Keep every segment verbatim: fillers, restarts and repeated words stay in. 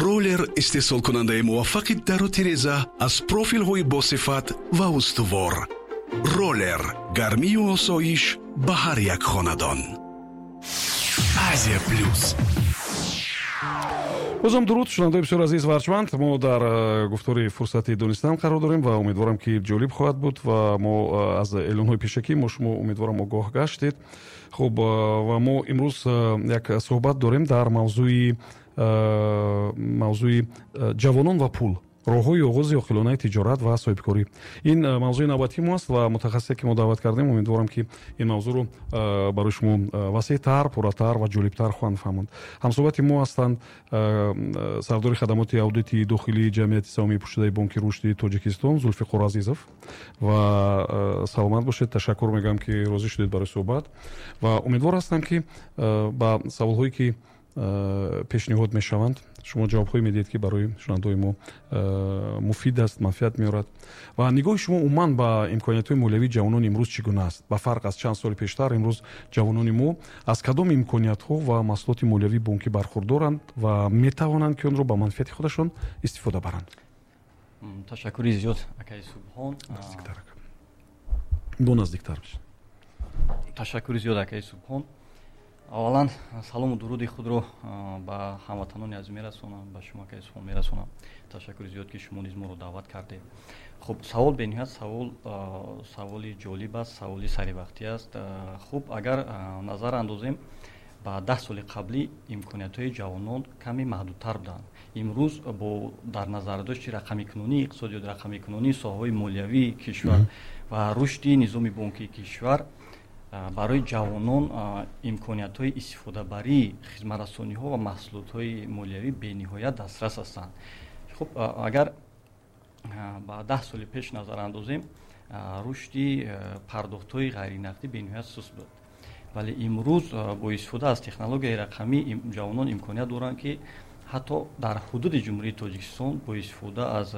Роллер истеҳсолкунандаи муваффақи дару тиреза аз профилҳои босифат ва устувор. Роллер гармию осоиш ба ҳар як хонадон. Азия Плюс. Бозам дуруд, шунавандаои бисёр азиз ва арҷманд. Мо дар э, гуфтори «Фурсати донистан» қарор дорем ва умедворам, ки ҷолиб хоҳад буд ва мо э, аз эълонҳои пешакӣ мо шумо, умедворам, огоҳ гаштед. Хуб, э, ва мо имрӯз як суҳбат дорем дар мавзӯи мавзӯи ҷавонон ва пул, роҳҳои оғози оқилонаи тиҷорат ва соҳибкорӣ. Ин э, мавзӯи навбатии мо аст ва мутахассисе, ки мо даъват кардем, умедворам, ки ин мавзӯъро э, барои шумо э, васеътар, пурратар ва ҷолибтар хоҳанд фаҳмонд. Ҳамсуҳбати мо ҳастанд сардори хадамоти аудити дохилии Ҷамъияти саҳомии пӯшидаи Бонки Рушди Тоҷикистон Зулфиқор Азизов. Ва саломат бошед, ташаккур мегӯям, ки розӣ шудед барои суҳбат, ва умедвор ҳастам, ки ба саволҳое, ки пешниҳод мешаванд, шумо ҷавобҳое медиҳед, ки барои шунавандаои мо э, муфид аст, манфиат меорад. Ва нигоҳи шумо умуман ба имкониятҳои молиявии ҷавонони имрӯз чӣ гуна аст? Ба фарқ аз чанд соли пештар, имрӯз ҷавонони мо аз кадом имкониятҳо ва маҳсулоти молиявии бонкӣ бархурдоранд ва метавонанд, ки онро ба манфиати худашон истифода баранд? Ташаккури зиёд, акаи Субҳон. Бо наздиктар. Ташаккури зиёд, акаи Субҳон. Аввалан, салому дуруди худро ба ҳамватанони азиз мерасонам, ба шумо, акаи Субҳон, мерасонам. Ташаккури зиёд, ки шумо низ моро даъват кардед. Хуб, савол бениҳоят савол саволи ҷолиб аст, саволи саривақтӣ аст. Хуб, агар назар андозем ба даҳ соли қаблӣ, имкониятҳои ҷавонон каме маҳдудтар буданд. Имрӯз бо дар назардошти рақамикунонии иқтисодиёт, рақамикунонии соҳаҳои молиявии кишвар ва рушди низоми бонкии кишвар, барои ҷавонон имкониятҳои истифодабарии хизматрасониҳо ва маҳсулотҳои молиявӣ бениҳоят дастрас ҳастанд. Хуб, агар ба даҳ соли пеш назар андозем, рушди пардохтҳои ғайринақдӣ бениҳоят суст буд, вале имрӯз бо истифода аз технологияи рақамӣ ҷавонон имконият доранд, ки ҳатто дар ҳудуди Ҷумҳурии Тоҷикистон бо истифода аз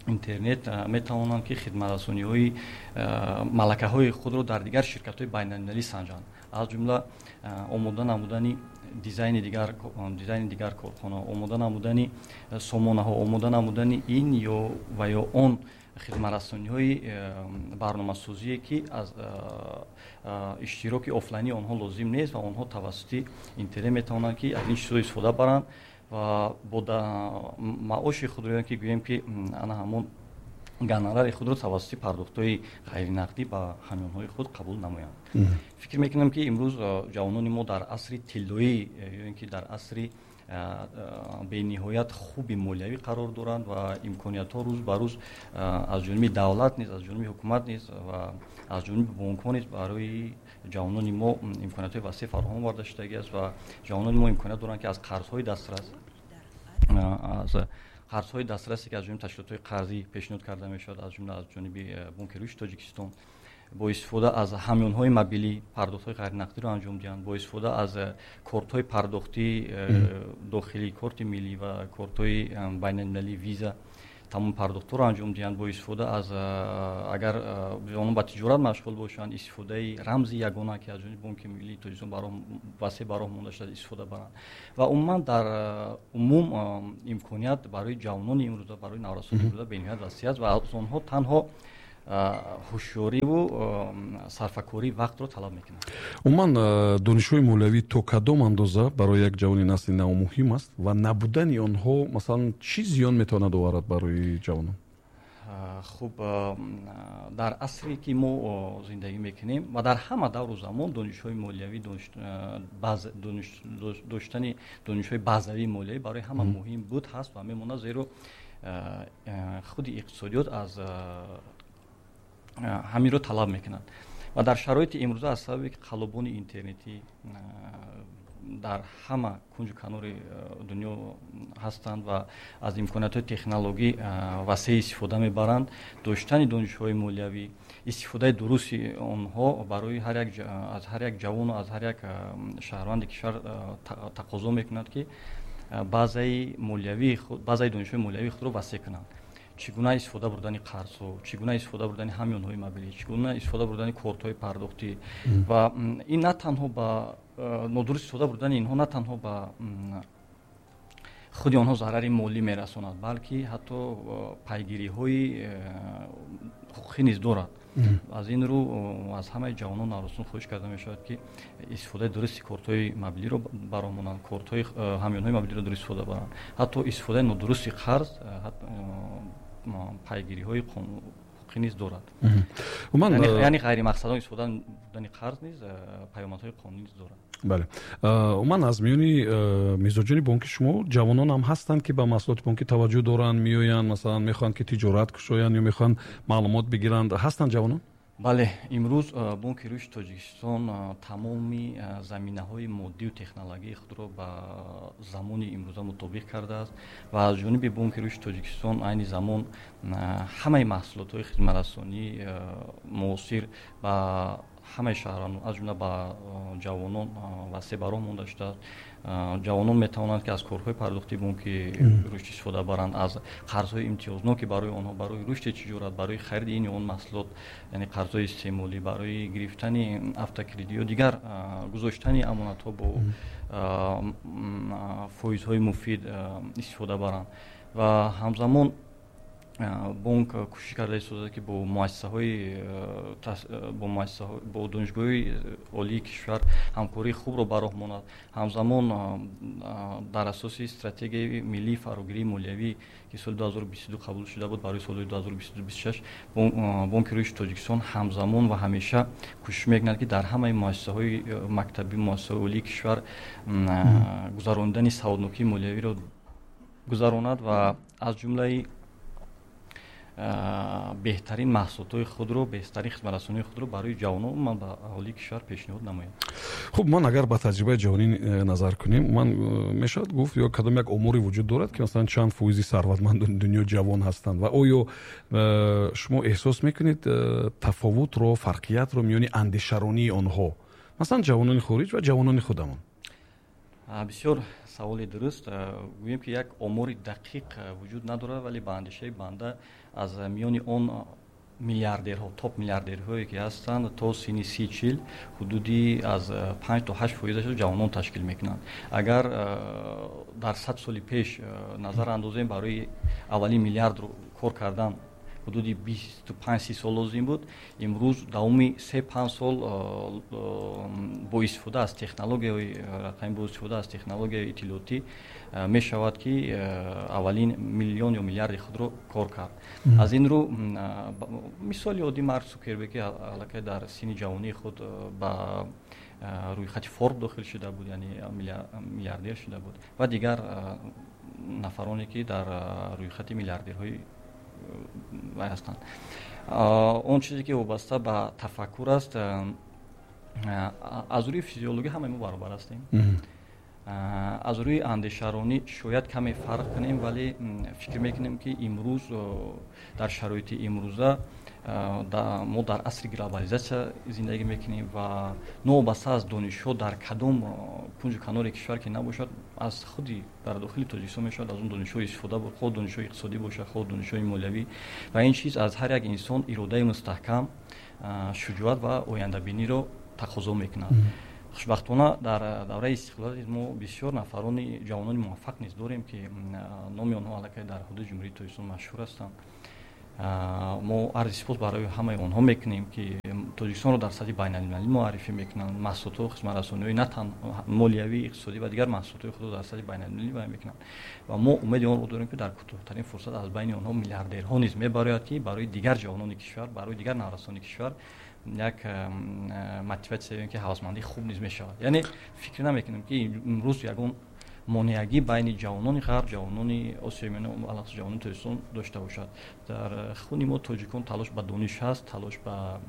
интернет метавонанд, ки хидматрасониҳои малакаҳои худро дар дигар ширкатҳои байналмилалӣ санҷанд, аз ҷумла омода намудани дизайни дигар дизайни дигар корхона, омода намудани сомонаҳо, омода намудани ин ё ва ё он хидматрасониҳои барномасозие, ки аз иштироки офлайнии онҳо лозим нест ва онҳо тавассути интернет метавонанд, ки аз ин чизҳо истифода баранд ва бо маоши худро, ки гӯем, ки ана ҳамон гонорари худро тавассути пардохтҳои ғайринақдӣ ба ҳамёнҳои худ қабул намоянд. Фикр мекунам, ки имрӯз ҷавонони мо дар асри тиллоӣ ё ин ки дар асри бениҳоят хуби молиявӣ қарор доранд ва имкониятҳо рӯз ба рӯз аз ҷониби давлат низ, аз ҷониби ҳукумат низ ва аз ҷониби бонкҳо низ барои ҷавонони мо имкониятҳои васеъ фароҳам оварда шудагӣ аст ва ҷавонони мо имконият доранд, ки аз қарзҳои дастрас аз қарзҳои дастрасе, ки аз ҷониби ташкилотҳои қарзӣ пешниҳод карда мешавад, аз ҷумла аз ҷониби Бонки Рушди Тоҷикистон, бо истифода аз ҳамёнҳои мобилӣ пардохтҳои ғайринақдиро анҷом диҳанд, бо истифода аз кортҳои пардохтии дохилӣ, корти миллӣ ва кортҳои байналмилалии Виза тамоми пардохтҳоро анҷом диҳанд, бо истифода аз, агар онҳо ба тиҷорат машғул бошанд, истифодаи рамзи ягона, ки аз ҷониби Бонки Миллии Тоҷикистон васеъ ба роҳ монда шудааст, истифода баранд. Ва умуман, дар умум, имконият барои ҷавонони имрӯза, барои наврасони имрӯза бениҳоят васеъ аст ва аз онҳо танҳо ҳушёриву сарфакории вақтро талаб мекунад. Умуман, донишҳои молиявӣ то кадом андоза барои як ҷавони насли нав муҳим аст ва набудани онҳо, масалан, чӣ зиён метавонад оварад барои ҷавонон? Хуб, дар асре, ки мо зиндагӣ мекунем, ва дар ҳама давру замон донишҳои молиявӣ, доштани донишҳои базавии молиявӣ барои ҳама муҳим буд, ҳаст ва мемонад, зеро худи иқтисодиёт аз ҳаминро талаб мекунад. Ва дар шароити имрӯза, аз сабабе ки қаллобони интернетӣ дар ҳама кунҷу канори дунё ҳастанд ва аз имкониятҳои технологӣ васеъ истифода мебаранд, доштани донишҳои молиявӣ, истифодаи дурусти онҳо барои ҳар як аз ҳар як ҷавону аз ҳар як шаҳрванди кишвар тақозо мекунад, ки базаи молиявии базаи донишҳои молиявии худро васеъ кунанд: чӣ гуна истифода бурдани қарзҳо, чӣ гуна истифода бурдани ҳамёнҳои мобилӣ, чӣ гуна истифода бурдани кортҳои пардохтӣ. Ва ин на танҳо ба нодуруст истифода бурдани инҳо на танҳо ба худи онҳо зарари молӣ мерасонад, балки ҳатто пайгириҳои ҳуқуқӣ низ дорад. Аз ин рӯ аз ҳамаи ҷавонон наврасон хоҳиш карда мешавад, ки истифодаи дурусти кортҳои мобилиро бароҳ монанд, кортҳои ҳамёнҳои мобилиро дуруст истифода баранд. Ҳатто истифодаи нодурусти қарз пайгириҳои ҳуқуқӣ низ дорад. Яъне ғайримақсадона истифода бурдани қарз низ паёмадҳои қонунӣ низ дорад. Бале, умуман аз миёни мизоҷони бонки шумо ҷавонон ҳам ҳастанд, ки ба маҳсулоти бонкӣ таваҷҷӯҳ доранд, меоянд, масалан мехоҳанд, ки тиҷорат кушоянд ё мехоҳанд маълумот бигиранд. Ҳастанд ҷавонон? Бале, имрӯз Бонки Рушди Тоҷикистон тамоми заминаҳои моддию технологии худро ба замони имрӯза мутобиқ кардааст ва аз ҷониби Бонки Рушди Тоҷикистон айни замон ҳамаи маҳсулотҳои хизматрасонии муосир ба ҳамаи шаҳрвандон, аз ҷумла ба ҷавонон васеъ ба роҳ монда шудааст. Ҷавонон метавонанд, ки аз корҳои пардохти бонки рушд истифода баранд, аз қарзҳои имтиёзнок, ки барои онҳо барои рушди тиҷорат, барои хариди ин ё он маҳсулот, яъне қарзҳои истеъмолӣ, барои гирифтани автокредит ё дигар гузоштани амонатҳо бо фоизҳои муфид истифода баранд. Ва ҳамзамон бонк кӯшиш карда истодааст, ки бо муассисаҳои бо муассисаҳо бо донишгоҳҳои олии кишвар ҳамкории хубро ба роҳ монад. Ҳамзамон дар асоси стратегияи миллии фарогирии молиявӣ, ки соли ду ҳазору бисту ду қабул шуда буд барои солҳои ду ҳазору бисту ду бисту шаш, Бонки Рушди Тоҷикистон ҳамзамон ва ҳамеша кӯшиш мекунад, ки дар ҳамаи муассисаҳои мактабӣ, муассисаҳои олии кишвар гузаронидани саводнокии молиявиро гузаронад ва аз ҷумлаи беҳтарин маҳсулотҳои худро, беҳтарин хизматрасонии худро барои ҷавонон ман ба аҳолии кишвар пешниҳод намоям. Хуб, ман агар ба таҷрибаи ҷавонӣ назар кунем, ман мешавад гуфт ё кадом як оморе вуҷуд дорад, ки масалан чанд фоизи сарватмандони дунё ҷавон ҳастанд ва оё шумо эҳсос мекунед тафовутро, фарқиятро миёни андешаронии онҳо, масалан ҷавонони хориҷ ва ҷавонони худамон? Бисёр саволи дуруст. Гӯем, ки як омори дақиқ вуҷуд надорад, вале ба андешаи банда аз миёни он миллиардерҳо, топ миллиардерҳое ки ҳастанд, то синни си чил ҳудуди аз панҷ то ҳашт фоизашро ҷавонон ташкил мекунанд. Агар дар сад соли пеш назар андозем, барои аввалин миллиардро кор кардан ҳудуди бисту панҷ си сол лозим буд. Имрӯз давоми се панҷ сол бо истифода аз технологияҳои рақамӣ, бо истифода аз технологияи иттилоотӣ мешавад, ки аввалин миллион ё миллиарди худро кор кард. Аз ин рӯ мисоли оддӣ Марк Цукерберг, ки аллакай дар синни ҷавонии худ ба рӯйхати Форб дохил шуда буд, яъне миллиардер шуда буд, ва дигар нафароне, ки дар рӯйхати миллиардерҳои вай ҳастанд. Он чизе, ки вобаста ба тафаккур аст, аз рӯи физиологӣ ҳамаи мо баробар ҳастем. Аз рӯи андешаронӣ шояд каме фарқ кунем, вале фикр мекунем, ки имрӯз дар шароити имрӯза мо дар асри глобализатсия зиндагӣ мекунем ва новобаста аз донишҳо дар кадом кунҷу канори кишвар ки набошад, аз худи дар дохили Тоҷикистон мешавад аз он донишҳо истифода бурд, хоҳ донишҳои иқтисодӣ бошад, хоҳ донишҳои молиявӣ. Ва ин чиз аз ҳар як инсон иродаи мустаҳкам, шуҷоат ва ояндабиниро тақозо мекунад. Хушбахтона дар давраи истиқлолият мо бисёр нафарони ҷавонони муваффақ низ дорем, ки номи онҳо аллакай дар ҳудуди Ҷумҳурии Тоҷикистон машҳур ҳастанд. Мо арзи сипос барои ҳамаи онҳо мекунем, ки Тоҷикистонро дар сатҳи байналмилалӣ муаррифӣ мекунанд, маҳсулотҳо, хизматрасониҳои на танҳо молиявӣ, иқтисодӣ ва дигар маҳсулотҳои худро дар сатҳи байналмилалӣ баён мекунанд. Ва мо умеди онро дорем, ки дар кӯтоҳтарин фурсат аз байни онҳо миллиардерҳо низ мебарояд, ки барои дигар ҷавонони кишвар, барои дигар наврасони кишвар як мотиватсия, ки ҳавасмандии хуб низ мешавад. Яъне фикр намекунем, ки имрӯз ягон монеагӣ байни ҷавонони ғарб, ҷавонони Осиёи Миёна, алахусус ҷавонони Тоҷикистон дошта бошад. Дар хуни мо тоҷикон талош ба дониш ҳаст, талош ба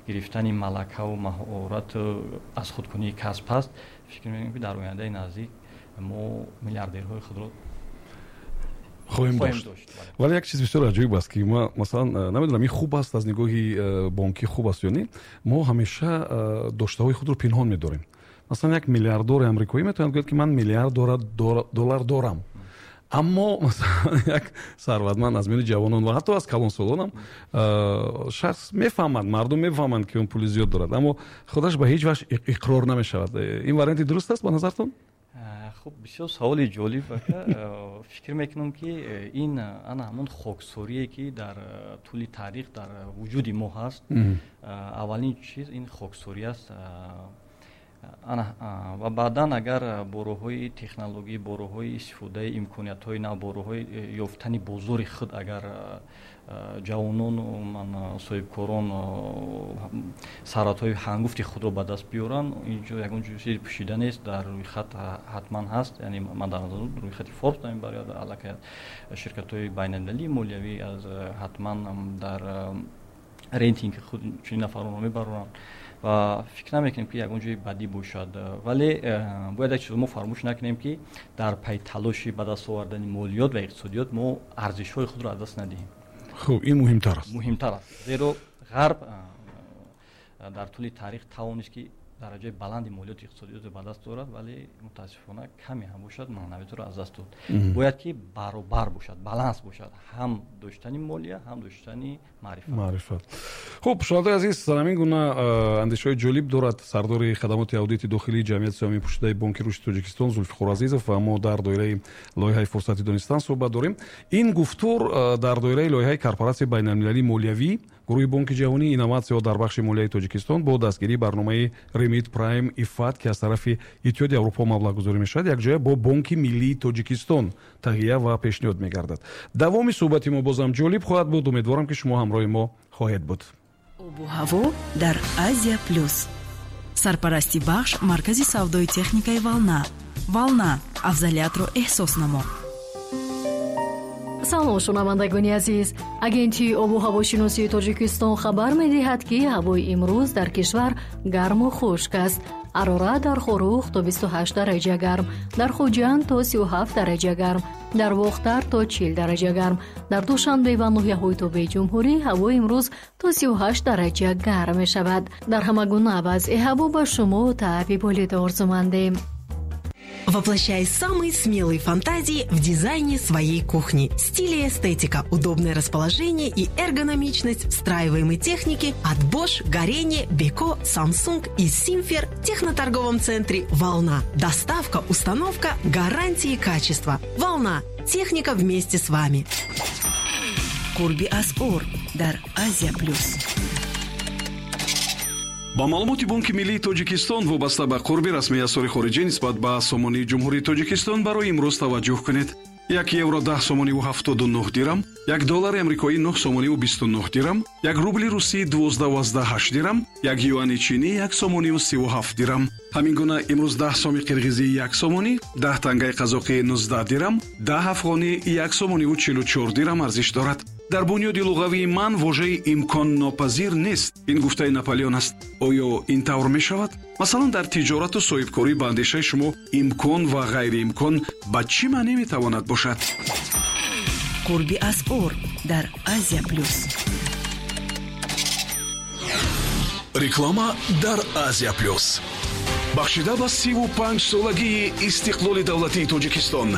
гирифтани малакаву маҳорату аз худкунии касб ҳаст. Фикр мекунем, ки дар ояндаи наздик мо миллиардерҳои худро хоҳем дошт. Вале як чиз бисёр аҷоиб аст, ки ма масалан намедонам, ин хуб аст, аз нигоҳи бонкӣ хуб аст ё не, мо ҳамеша доштаҳои худро пинҳон медорем. Масалан, як миллиардори амрикоӣ метавонад гӯяд, ки ман миллиард доллар дорам, аммо масалан як сарватманд аз миёни ҷавонон ва ҳатто аз калонсолонам шахс мефаҳмад, мардум мефаҳманд, ки он пули зиёд дорад, аммо худаш ба ҳеҷ ваҷҳ иқрор намешавад. Ин варианти дуруст аст ба назартон? Хуб, бисёр саволи ҷолиб, ака. Фикр мекунам, ки ин ана ҳамон хоксорие, ки дар тӯли таърих дар вуҷуди мо ҳаст. Аввалин чиз ин хоксорӣ аст. Ана ва баъдан агар бо роҳҳои технологӣ, бо роҳҳои истифодаи имкониятҳои нав, бо роҳҳои ёфтани бозори худ, агар ҷавонону соҳибкорон сарватҳои ҳангуфти худро ба даст биёранд, инҷо ягон чизи пӯшида нест, дар рӯйхат ҳатман ҳаст. Яъне ман дар назар рӯйхати Форбс мебарад, аллакай ширкатҳои байналмилалии молиявӣ аз ҳатман дар рейтинги худ чунин нафаронро мебароранд ва фикр намекунем, ки ягон ҷои бадӣ бошад. Вале бояд як чизо мо фаромӯш накунем, ки дар пайи талоши ба даст овардани молиёт ва иқтисодиёт мо арзишҳои худро аз даст надиҳем. Хуб, ин муҳимтар аст. Муҳимтар аст, зеро Ғарб дар тӯли таърих тавонист, ки дараҷаи баланди молиёти иқтисодиётро ба даст орад, вале мутаассифона каме ҳам бошад маънавиятро аз даст дод. Бояд ки баробар бошад, баланс бошад, ҳам доштани молия, ҳам доштани маърифат. Маърифат. Хуб, шунавандаи азиз, ҳамин гуна андешаҳои ҷолиб дорад сардори хадамоти аудити дохилии ҷамъияти саҳомии пӯшидаи Бонки рушди Тоҷикистон Зулфиқор Азизов ва мо дар доираи лоиҳаи Фурсати донистан суҳбат дорем. Ин гуфтор дар доираи лоиҳаи корпоратсияи байналмилалии молиявӣ, гурӯҳи Бонки ҷаҳонӣ, инноватсияҳо дар бахши молияи Тоҷикистон бо дастгирии барномаи Remit Prime IFAD, ки аз тарафи Иттиҳоди Аврупо маблағгузорӣ мешавад, якҷоя бо Бонки миллии Тоҷикистон таҳия ва пешниҳод мегардад. Давоми суҳбати мо бозам ҷолиб хоҳад буд. Умедворам, ки шумо ҳамроҳи мо хоҳед буд. Обу ҳаво дар Азия Плюс. Сарпарасти бахш маркази савдои техникаи «Волна». «Волна» — афзалиятро эҳсос намо. Салом, шунавандагони азиз! Агентии обу ҳавошиносии Тоҷикистон хабар медиҳад, ки ҳавои имрӯз дар кишвар гарму хушк аст. Ҳарорат дар Хоруғ то бисту ҳашт дараҷа гарм, дар Хуҷанд то сию ҳафт дараҷа гарм, дар Бохтар то чил дараҷа гарм, дар Душанбе ва ноҳияҳои тобеи ҷумҳурӣ ҳавои имрӯз то сию ҳашт дараҷа гарм мешавад. Дар ҳама гуна вазъи ҳаво ба шумо таъби болида орзумандем. Воплощай самые смелые фантазии в дизайне своей кухни. Стиль и эстетика, удобное расположение и эргономичность встраиваемой техники от Bosch, Gorenje, Beko, Samsung и Simfer в техноторговом центре «Волна». Доставка, установка, гарантии качества. «Волна». Техника вместе с вами. Қурби асъор дар Азия Плюс. Ба маълумоти Бонки миллии Тоҷикистон вобаста ба қурби расмии асъори хориҷӣ нисбат ба сомонии Ҷумҳурии Тоҷикистон барои имрӯз таваҷҷӯҳ кунед: як евро даҳ сомониву ҳафтоду нӯҳ дирам, як доллари амрикоӣ нӯҳ сомониву бисту нӯҳ дирам, як рубли русӣ дувоздаҳу ҳашт дирам, як юани чинӣ як сомониву сиву ҳафт дирам. Ҳамин гуна имрӯз даҳ соми қирғизӣ як сомонӣ, даҳ тангаи қазоқӣ нуздаҳ дирам, даҳ афғонӣ як сомониву чилу чор дирам арзиш дорад. Дар бунёди луғавии ман вожаи имконнопазир нест. Ин гуфтаи Наполеон аст. Оё ин тавр мешавад? Масалан, дар тиҷорату соҳибкорӣ ба андешаи шумо имкон ва ғайриимкон ба чӣ маъне метавонад бошад? Қурби асъор дар Азия Плюс. Реклама дар Азия Плюс. Бахшида ба сиву панҷ солагии истиқлоли давлатии Тоҷикистон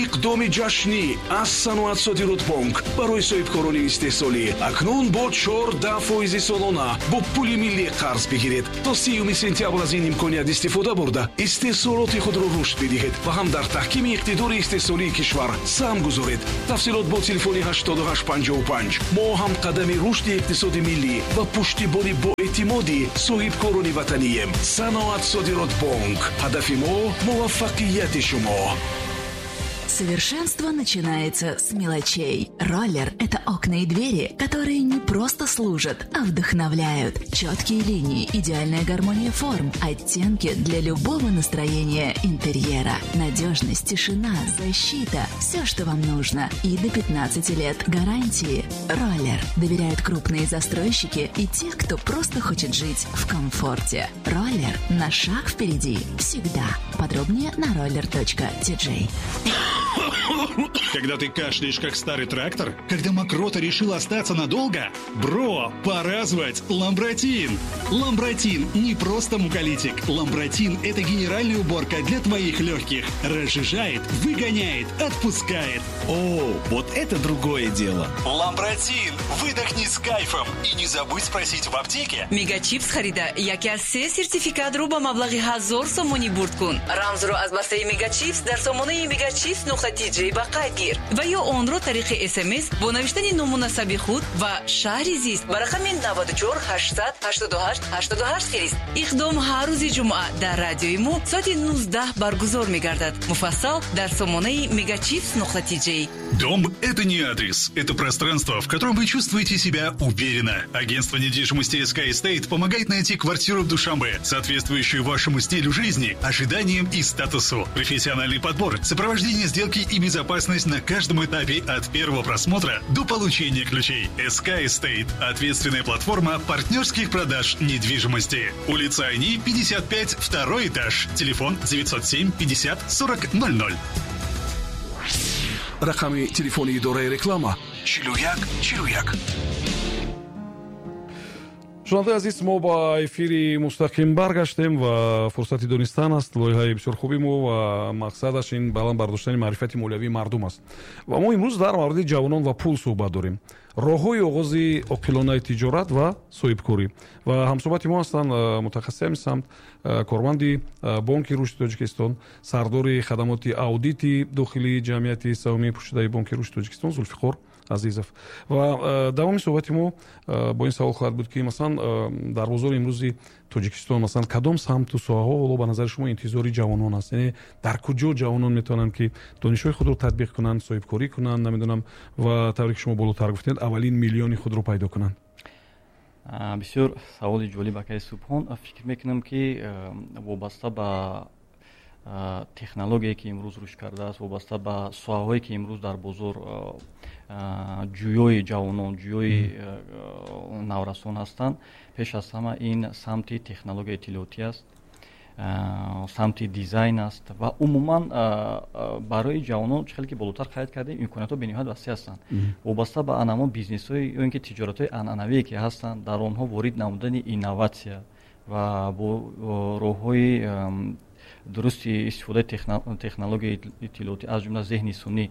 иқдоми ҷашнӣ аз Саноатсодиротбонк барои соҳибкорони истеҳсолӣ: акнун бо чордаҳ фоизи солона бо пули миллӣ қарз бигиред. То сиюми сентябр аз ин имконият истифода бурда, истеҳсолоти худро рушд бидиҳед ва ҳам дар таҳкими иқтидори истеҳсолии кишвар саҳм гузоред. Тафсилот бо телефони ҳаштоду ҳашт панҷоҳу панҷ. Мо ҳамқадами рушди иқтисоди миллӣ ва пуштибони боэътимоди соҳибкорони ватанием. Саноатсодиротбонк, ҳадафи мо муваффақияти шумо. Совершенство начинается с мелочей. «Роллер» — это окна и двери, которые не просто служат, а вдохновляют. Четкие линии, идеальная гармония форм, оттенки для любого настроения интерьера. Надежность, тишина, защита – все, что вам нужно. И до пятнадцати лет гарантии. «Роллер» доверяют крупные застройщики и те, кто просто хочет жить в комфорте. «Роллер» на шаг впереди всегда. Подробнее на roller точка T J. Когда ты кашляешь, как старый трактор? Когда мокрота решила остаться надолго? Бро, пора звать Ламбратин! Ламбратин не просто муколитик. Ламбратин – это генеральная уборка для твоих легких. Разжижает, выгоняет, отпускает. О, вот это другое дело. Ламбратин! Выдохни с кайфом и не забудь спросить в аптеке. Мегачипс харида яке аз се сертификатро ба маблағи ҳазор сомонӣ бурд кун. Рамзро аз бастаи Мегачипс дар сомонаи мегачипс нуқта тиҷ ба қайд гир ва ё онро тариқи С М С бо навиштани ному насаби худ ва шаҳри зист ба рақами наваду чор ҳаштсад ҳаштоду ҳашт ҳаштоду ҳашт фирист. Иқдом ҳар рӯзи ҷумъа дар радиои мо соати нуздаҳ баргузор мегардад. Муфассал дар сомонаи мегачипс нуқта тиҷ. Дом – это не адрес, это пространство, в котором вы чувствуете себя уверенно. Агентство недвижимости Sky Estate помогает найти квартиру в Душанбе, соответствующую вашему стилю жизни, ожиданиям и статусу. Профессиональный подбор, сопровождение сделки и безопасность на каждом этапе от первого просмотра до получения ключей. S K Estate – ответственная платформа партнерских продаж недвижимости. Улица Айни, пятьдесят пять, второй этаж. Телефон девятьсот семь пятьдесят сорок ноль ноль. Рақами телефони идораи реклама чилу як чилу як. Шунавандаи азиз, мо ба эфири мустақим баргаштем ва «Фурсати донистан» аст лоиҳаи бисёр хуби мо ва мақсадаш ин баланд бардоштани маърифати молиявии мардум аст. Ва мо имрӯз дар мавриди ҷавонон ва пул суҳбат дорем, роҳҳои оғози оқилонаи тиҷорат ва соҳибкорӣ. Ва ҳамсӯҳбати мо ҳастанд мутахассиси ҳамин самт, корманди Бонки Рушди Тоҷикистон, сардори хадамоти аудити дохилии ҷамъияти саҳомии пӯшидаи Бонки Рушди Тоҷикистон Зулфиқор Азизов. Ва давоми суҳбати мо бо ин савол хоҳад буд, ки масалан дар бозори имрӯзи Тоҷикистон масалан кадом самту соҳаҳо ҳоло ба назари шумо интизори ҷавонон аст, яъне дар куҷо ҷавонон метавонанд, ки донишҳои худро татбиқ кунанд, соҳибкорӣ кунанд, намедонам, ва тавре ки шумо болотар гуфтед, аввалин миллиони худро пайдо кунанд? Бисёр саволи ҷолиб, акаи Субҳон. Фикр мекунам, ки вобаста ба технологие, ки имрӯз рушд кардааст, вобаста ба соҳаҳое, ки имрӯз дар бозор ҷӯёи ҷавонон, ҷӯёи наврасон ҳастанд, пеш аз ҳама ин самти технологияи иттилоотӣ аст, самти дизайн аст. Ва умуман барои ҷавонон, чӣ хеле ки болотар қайд кардем, имкониятҳо бениҳоят васеъ ҳастанд. Вобаста ба анамон бизнесҳои ё ин ки тиҷоратҳои анъанавие, ки ҳастанд, дар онҳо ворид намудани инноватсия ва бо роҳҳои дурусти истифодаи технологияи иттилоотӣ, аз ҷумла зеҳни сунъӣ,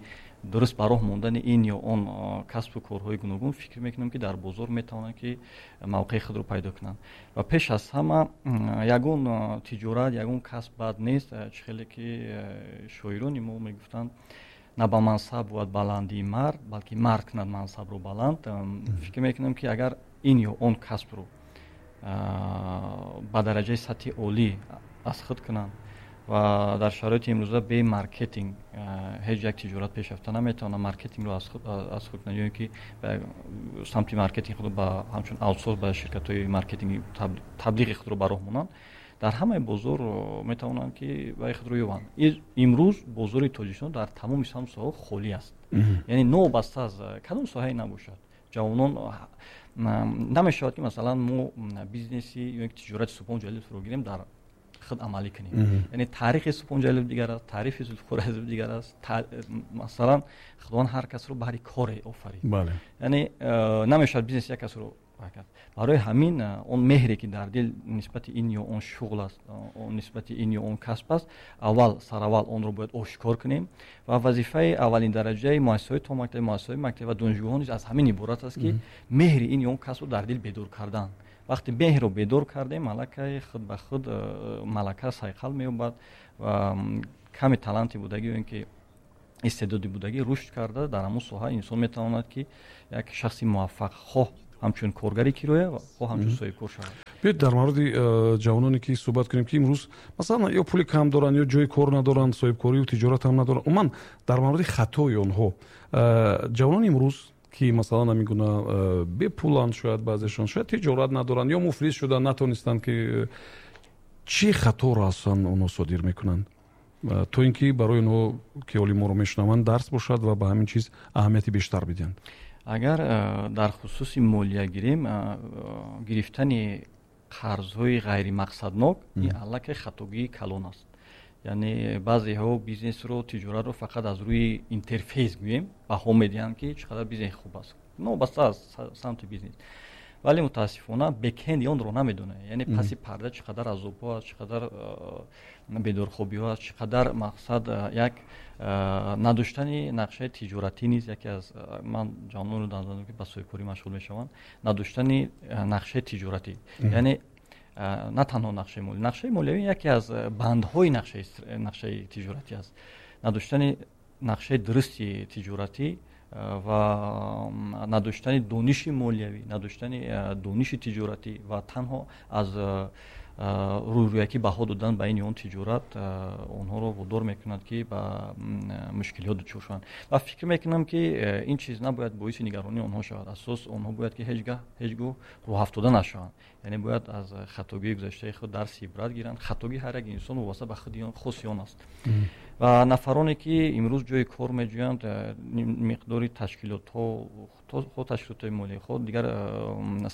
дуруст ба роҳ мондани ин ё он касбу корҳои гуногун, фикр мекунам, ки дар бозор метавонанд, ки мавқеи худро пайдо кунанд. Ва пеш аз ҳама ягон тиҷорат, ягон касб бад нест. Чӣ хеле ки шоирони мо мегуфтанд: «На ба мансаб бувад баландии мард, балки мард кунад мансабро баланд». Фикр мекунам, ки агар ин ё он касбро ба дараҷаи сатҳи олӣ аз худ кунанд, ва дар шароити имрӯза бе маркетинг ҳеҷ як тиҷорат пешрафта наметавонад, маркетингро аз худ кунанд ё ин ки самти маркетинг худро ба ҳамчун аутсорс ба ширкатҳои маркетинги таблиғи худро ба роҳ монанд, дар ҳамаи бозор метавонанд, ки вай худро ёбанд. Имрӯз бозори Тоҷикистон дар тамоми самту соҳаҳо холӣ аст, яъне новобаста аз кадом соҳае набошад, ҷавонон намешавад, ки масалан мо бизнеси ё ки тиҷорати Субҳон Ҷалиловро гирем, дар худ амалӣ кунем. Яъне таърихи Субҳон Ҷалилов дигар аст, таърихи Зулфиқор Азизов дигар аст. Масалан, Худованд ҳар касро баҳри коре офарид, яъне э, намешавад бизнеси як касро кард. Барои ҳамин э, он меҳре, ки дар дил нисбати ин ё он шуғл аст, нисбати ин ё он касб аст, аввал сараввал онро бояд ошкор кунем. Ва вазифаи аввалин дараҷаи муассисаҳои томактаб, муассисаҳои мактаб ва донишгоҳҳо низ аз ҳамин иборат аст, ки меҳри ин ё он касбро дар дил бедор кардан. Вақте меҳрро бедор кардем, аллакай худ ба худ э, малака сайқал меёбад ва ками таланти будагӣ ё ин ки истеъдоди будагӣ рушд карда, дар ҳамон соҳа инсон метавонад, ки як шахси муваффақ, хоҳ ҳамчун коргари кироя, хоҳ ҳамчун соҳибкор шавад. Биёед, дар мавриди э, ҷавононе ки суҳбат кунем, ки имрӯз масалан ё пули кам доранд, ё ҷои кор надоранд, соҳибкорию тиҷорат ҳам надоранд. Умуман дар мавриди хатои онҳо, э, ҷавонони имрӯз, ки масалан ҳамин гуна э, бепуланд, шояд баъзешон шояд тиҷорат надоранд ё муфлис шуданд, натонистанд, ки чӣ хаторо аслан онҳо содир мекунанд, то ин ки барои онҳо, ки ҳоли моро мешунаванд, дарс бошад ва ба ҳамин чиз аҳамияти бештар бидиҳанд? Агар э, дар хусуси молия гирем, э, гирифтани қарзҳои ғайримақсаднок ин аллакай хатогии калон аст. Яъне баъзеҳо бизнесро, тиҷоратро фақат аз рӯи интерфейс гӯем баҳо медиҳанд, ки чӣ қадар бизнес хуб аст, новобаста аз самти бизнес, вале мутаассифона бэкенди онро намедонад. Яъне паси парда чӣ қадар азобҳо аст, чӣ қадар бедорхобиҳо аст, чӣ қадар мақсад як надоштани нақшаи тиҷоратӣ низ яке аз ман ҷавононро донам, ки ба соҳибкорӣ машғул мешаванд, надоштани нақшаи тиҷоратӣ, яъне на танҳо нақшаи молӣ, нақшаи молиявӣ яке аз бандҳои нақшаи тиҷоратӣ аст. Надоштани нақшаи дурусти тиҷоратӣ ва надоштани дониши молиявӣ, надоштани дониши тиҷоратӣ ва танҳо аз рӯйрӯякӣ баҳо додан ба ин ё он тиҷорат онҳоро водор мекунад, ки ба мушкилиҳо дучор шаванд. Ва фикр мекунам, ки ин чиз набояд боиси нигаронии онҳо шавад. Асос онҳо бояд, ки ҳеҷ гаҳ ҳеҷ гоҳ рӯҳафтода нашаванд, яъне бояд аз хатогии гузаштаи худ дарси ибрат гиранд. Хатогии ҳар як инсон вобаста ба худи хоси он аст. Ва нафароне, ки имрӯз ҷои кор меҷӯянд, миқдори ташкилотҳо, хоҳ ташкилотҳои молӣ, хоҳ дигар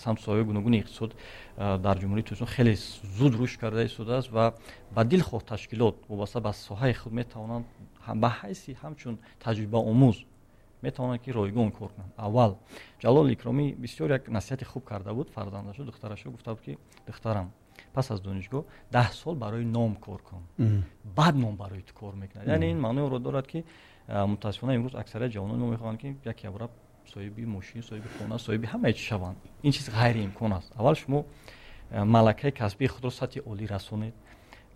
самтсоҳаҳои гуногуни иқтисод дар Ҷумҳурии Тоҷикистон хеле зуд рушд карда истодааст ва ба дилхоҳ ташкилот вобаста ба соҳаи худ метавонанд ба ҳайси ҳамчун таҷрибаомӯз метавонанд, ки ройгон кор кунанд. Аввал Ҷалол Икромӣ бисёр як насиҳати хуб карда буд фарзандашо, духтарашо, гуфта буд, ки духтарам, пас аз донишгоҳ даҳ сол барои ном кор кун, баъд ном барои ту кор мекунад. Яъне ин маънои онро дорад, ки мутаассифона имрӯз аксарияти ҷавонони мо мехоҳанд, ки як ябра соҳиби мошин, соҳиби хона, соҳиби ҳамаи чиз шаванд. Ин чиз ғайриимкон аст. Аввал шумо малакаи касбии худро сатҳи олӣ расонед,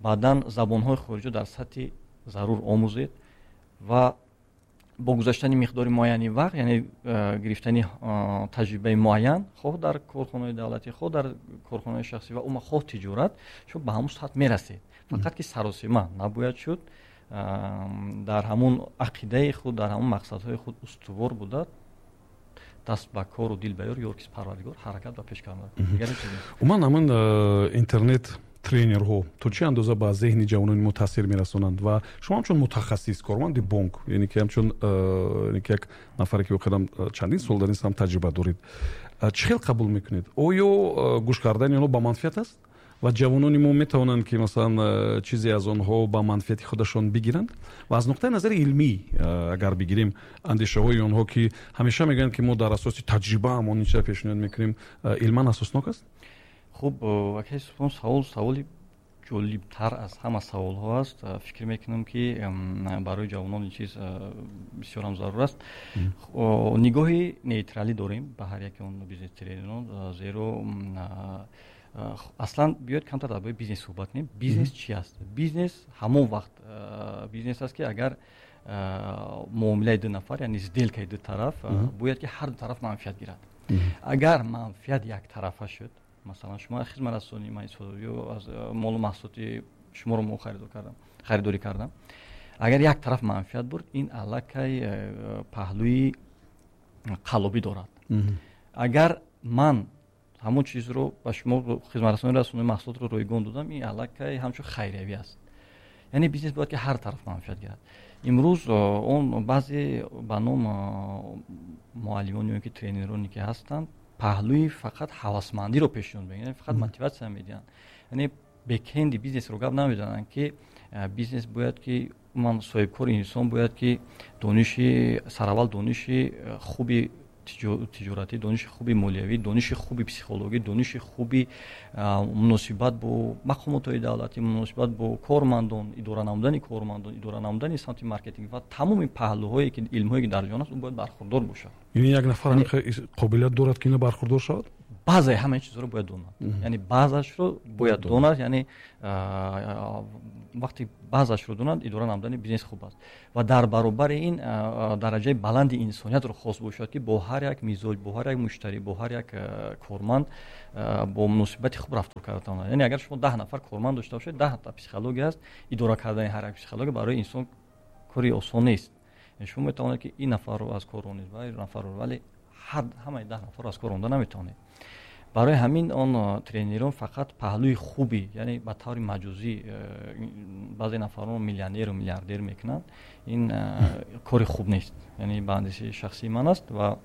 баъдан забонҳои хориҷиро дар сатҳи зарур омӯзед ва бо гузаштани миқдори муайяни вақт, яъне гирифтани таҷрибаи муайян, хоҳ дар корхонаи давлатӣ, хоҳ дар корхонаи шахсӣ ва умуман хоҳ тиҷорат, шумо ба ҳамон сатҳ мерасед. Фақат ки саросима набояд шуд, дар ҳамон ақидаи худ, дар ҳамон мақсадҳои худ устувор буда, даст ба кору дил ба ёр, ёркис Парвардигор, ҳаракат ба пеш кардан. Умуман ҳамин интернет тренерҳо то чӣ андоза ба зеҳни ҷавонони мо таъсир мерасонанд? Ва шумо ҳамчун мутахассис, корманди бонк, яъне ки ҳамчун яъне ки як нафаре, ки воқеан чандин сол дар ин самт таҷриба доред, чӣ хел қабул мекунед? Оё гӯш кардани онҳо ба манфиат аст ва ҷавонони мо метавонанд, ки масалан чизе аз онҳо ба манфиати худашон бигиранд? Ва аз нуқтаи назари илмӣ агар бигирем, андешаҳои онҳо, ки ҳамеша мегӯянд, ки мо дар асоси таҷриба ҳамон ин чизро пешниҳод мекунем, илман асоснок аст? Хуб, акай Субҳон, савол саволи ҷолибтар аз ҳама саволҳо аст. Фикр мекунам, ки барои ҷавонон ин чиз бисёрам зарур аст. Нигоҳи нейтралӣ дорем ба ҳар яке он бизнес тренерон, зеро аслан биёед камтар дар бораи бизнес суҳбат кунем. Бизнес чи аст? Бизнес ҳамон вақт бизнес аст, ки агар муомилаи ду нафар, яъне сделкаи ду тараф, бояд ки ҳар ду тараф манфиат гирад. Агар манфиат яктарафа шуд, масалан шумо аз хизматрасонии ман истифода ё аз молу маҳсулоти шуморо мо харидорӣ кардам, агар як тараф манфиат бурд, ин аллакай паҳлӯи қаллобӣ дорад. Агар ман ҳамон чизро ба шумо хизматрасонӣ расонии маҳсулотро ройгон додам, ин аллакай ҳамчун хайриявӣ аст. Яъне бизнес бояд, ки ҳар тараф манфиат гирад. Имрӯз он баъзе ба ном муаллимон ё ки тренероне, ки ҳастанд, паҳлӯи фақат ҳавасмандиро пешниҳод мекунанд, фақат мотиватсия медиҳанд. Яъне бэкенди бизнесро гап намезананд, ки бизнес бояд, ки ман соҳибкори инсон бояд, ки дониши сараввал дониши хуби тиҷоратӣ, дониши хуби молиявӣ, дониши хуби психологӣ, дониши хуби муносибат бо мақомотҳои давлатӣ, муносибат бо кормандон, идора намудани кормандон, идора намудани самти маркетинг ва тамоми паҳлӯҳое, ки илмҳое, ки дар ҷаҳон аст, ӯ бояд бархурдор бошад. Яъне як нафар қобилият дорад, ки ина бархурдор шавад? Баъзеи ҳамаи чизҳоро бояд донад, яъне баъзашро бояд донад, яъне вақте баъзашро донад, идора намудани бизнес хуб аст. Ва дар баробари ин дараҷаи баланди инсониятро хос бошад, ки бо ҳар як мизоҷ, бо ҳар як муштарӣ, бо ҳар як корманд бо муносибати хуб рафтор карда тавонад. Яъне агар шумо даҳ нафар корманд дошта бошед, даҳ та психология аст. Идора кардани ҳар як психология барои инсон кори осон нест. Шумо метавонед, ки ин нафарро аз кор ронед ва ин нафарро, вале ҳамаи даҳ нафарро аз кор ронда наметавонед. Барои ҳамин он тренерон фақат паҳлӯи хуби, яъне ба таври маҷозӣ баъзе нафарон миллионеру миллиардер мекунанд. Ин кори хуб нест, яъне ба андешаи шахсии ман аст ва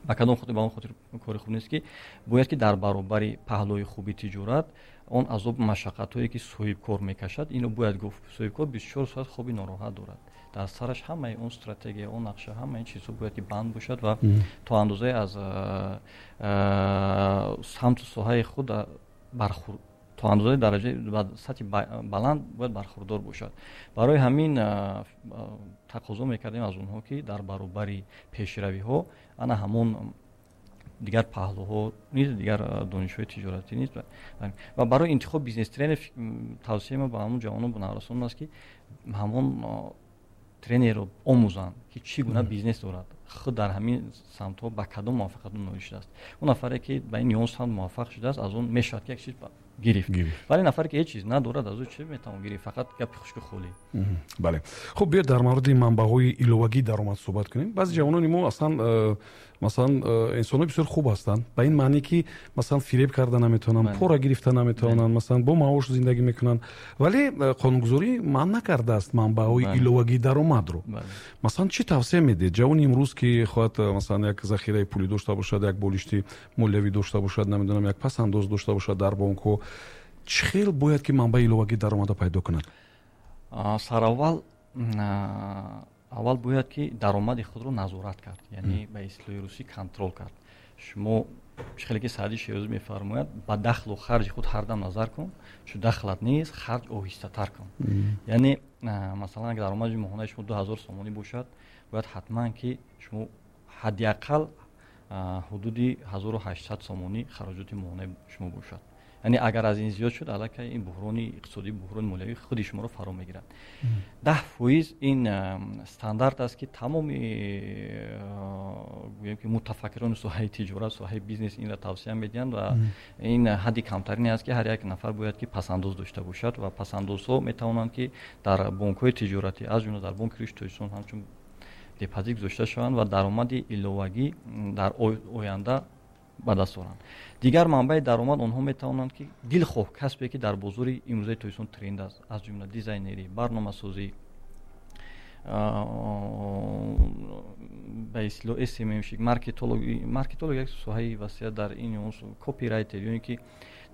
ба кадом хотир, ба он хотир кори хуб нест, ки бояд, ки дар баробари паҳлӯи хуби тиҷорат Он азобу машаққатҳое ки соҳибкор мекашад, инро бояд гуфт, соҳибкор бисту чор соат хоби нороҳат дорад, дар сараш ҳамаи он стратегия, он нақша, ҳамаи ин чизҳо бояд ки банд бошад ва то андозае аз самту соҳаи худ бархур то андозаи дараҷаи ба сатҳи баланд бояд бархурдор бошад. Барои ҳамин тақозо мекардем аз онҳо, ки дар баробари пешравиҳо ана ҳамон дигар паҳлӯҳо низ, дигар донишҳои тиҷоратӣ низ. Ва барои интихоб бизнес тренер тавсияи ма ба ҳамон ҷавонон, ба наврасон аст, ки ҳамон тренерро омӯзанд, ки чӣ гуна бизнес дорад, худ дар ҳамин самтҳо ба кадом муваффақият ноил шудааст. Он нафаре ки ба ин ё он самт муваффақ шудааст, аз он мешавад ки як чиз гирифт, вале нафаре ки ҳеҷ чиз надорад, аз ӯ чӣ метавон гирифт? Фақат гапи хушку холӣ. Бале, хуб, биёед дар мавриди манбаъҳои иловагии даромад суҳбат кунем. Баъзе ҷавонони мо аслан э, масалан э, инсонҳои бисёр хуб ҳастанд, ба ин маъне ки масалан фиреб карда наметавонанд, пора гирифта наметавонанд, масалан бо маош зиндагӣ мекунанд, вале э, қонунгузорӣ манъ накардааст манбаъҳои иловагии даромадро. Масалан, чӣ тавсия медиҳед ҷавони имрӯз, ки хоҳад масалан як захираи пулӣ дошта бошад, як болишти молиявӣ дошта бошад, намедонам, як пасандоз дошта бошад дар бонкҳо, чӣ хел бояд ки манбаи иловагии даромада пайдо кунад? Сараввал аввал бояд ки даромади худро назорат кард, яъне ба истилоҳи русӣ контрол кард. Шумо чӣ хеле ки Саъди Шерозӣ мефармояд, ба дахлу харҷи худ ҳар дам назар кун, чун дахлат нест, харҷ оҳистатар кун. Яъне масалан агар даромади моҳонаи шумо ду ҳазор сомонӣ бошад, бояд ҳатман ки шумо ҳадди ақал ҳудуди ҳазору ҳаштсад сомонӣ хароҷоти моҳонаи шумо бошад. Яъне агар аз ин зиёд шуд, аллакай ин буҳрони иқтисодӣ, буҳрони молиявӣ худи шуморо фаро мегирад. Даҳ фоиз ин стандарт аст, ки тамоми гӯем ки мутафаккирони соҳаи тиҷорат, соҳаи бизнес инро тавсия медиҳанд ва ин ҳадди камтарине аст, ки ҳар як нафар бояд ки пасандоз дошта бошад. Ва пасандозҳо метавонанд ки дар бонкҳои тиҷоратӣ, аз ҷумла дар Бонки Рушди Тоҷикистон, ҳамчун депозит гузошта шаванд ва даромади иловагӣ дар оянда ба даст оранд. Дигар манбаи даромад, онҳо метавонанд ки дилхоҳ касбе ки дар бозори имрӯзаи Тоҷикистон тренд аст, аз ҷумла дизайнерӣ, барномасозӣ, ба истилоҳ S M M-щик, маркетолог. Маркетолог як соҳаи васеа дар ин, копирайтер, ё ин ки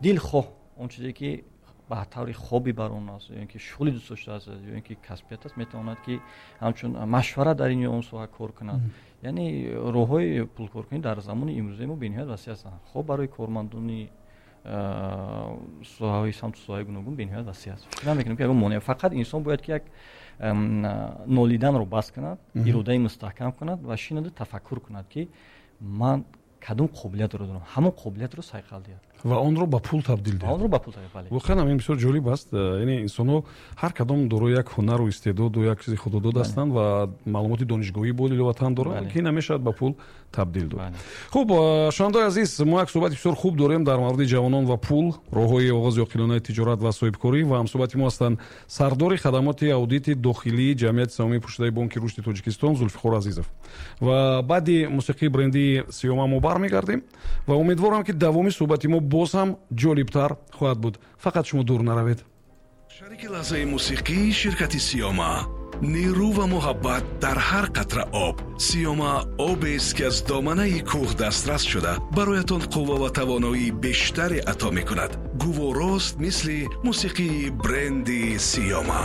дилхоҳ он чизе ки ба таври хобби бар он аст, ё ин ки шуғли дӯст доштааст, ё ин ки касбият аст, метавонад ки ҳамчун машварат дар ин ё он соҳа кор кунад. Яъне роҳҳои пулкоркунӣ дар замони имрӯзаи мо бениҳоят васеъ ҳастанд. Хоб барои кормандони соҳаҳои самту соҳаи гуногун бениҳоят васеъ аст. Фикр намекунем ки ягон монеа, фақат инсон бояд ки як нолиданро бас кунад, иродаи мустаҳкам кунад ва шинаду тафаккур кунад, ки ман кадом қобилиятро дорам, ҳамон қобилиятро сайқал диҳад ва онро ба пул табдил диҳад. Онро ба пул табдил, бале. Воқеан ҳам ин бисёр ҷолиб аст. Яъне инсонҳо ҳар кадом дорои як ҳунару истеъдоду як чизи худодод ҳастанд ва маълумоти донишгоҳӣ бо иловатан доранд, ки намешавад ба пул табдил дод. Хуб, шунавандаои азиз, мо як суҳбати бисёр хуб дорем дар мавриди ҷавонон ва пул, роҳҳои оғози оқилонаи тиҷорат ва соҳибкорӣ, ва ҳамсуҳбати мо ҳастанд сардори хадамоти аудити дохилии ҷамъияти саҳомии пӯшидаи Бонки Рушди Тоҷикистон Зулфиқор Азизов. Ва баъди мусиқии брендии Сиёма мо бармегардем ва умедворам, ки давоми суҳбати мо боз ҳам ҷолибтар хоҳад буд. Фақат шумо дур наравед. Шарики лаҳзаи мусиқӣ ширкати Сиёма. Нерӯ ва муҳаббат дар ҳар қатра об. Сиёма обест, ки аз доманаи кӯҳ дастрас шуда, бароятон қувва ва тавоноии бештаре ато мекунад. Гуворост, мисли мусиқии бренди Сиёма.